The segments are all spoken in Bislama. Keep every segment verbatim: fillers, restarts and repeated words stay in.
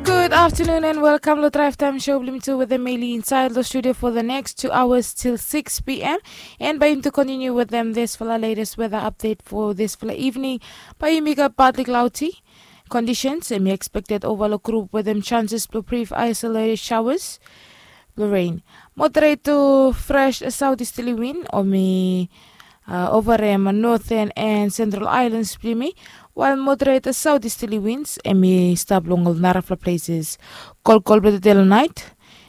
Good afternoon and welcome lo Drive Time Show blong yumi tu wetem Meli inside lo studio for the next two hours till six p.m. And bae yumi tu continue wetem disfala latest weather update for disfala evening. Bae yumi gat partly cloudy conditions, hemi expected ova lo group wetem chances blong brief isolated showers blong rain. Moderate to fresh southeasterly wind hemi uh, ova hem northern and central islands blong yumi, while moderate southeasterly winds hemi stap long ol narafala places. Kolkol blong tede long nait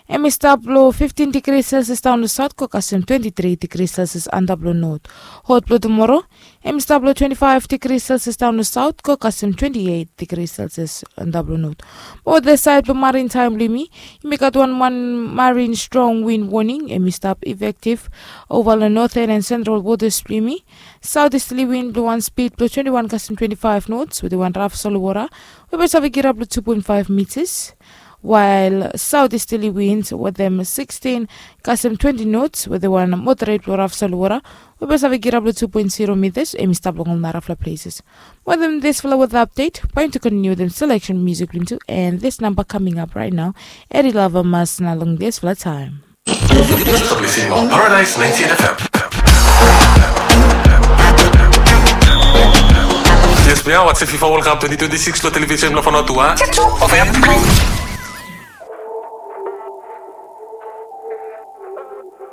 hemi stap long fifteen degrees Celsius daon long south go kasem twenty-three degrees Celsius antap long north. Hot blong tomorrow hemi stap long twenty-five degrees Celsius daon long south go kasem twenty-eight degrees Celsius antap long north. Mo wetem saed blong marin taem blong yumi, yumi gat wan wan marin strong wind warning hemi stap effective ova long northern and central waters blong yumi. Southeasterly wind blong wan speed blong twenty-one kasem twenty-five knots wetem wan raf solwota we bae save kirap long two point five meters, while southeasterly winds wetem sixteen kasem twenty knots wetem wan moderate blong raf solwota we bae save kirap long two point zero meters hemi stap long ol narafala places. Wetem disfala weather update, bae yumi tu continue wetem selection music blong yumi tu, and this number coming up right now, Eddie Lover Mas na long disfala taem. Paradise ninety-eight F M. Yes, we are watching FIFA World Cup twenty twenty-six lo television lo Fanotua. F M.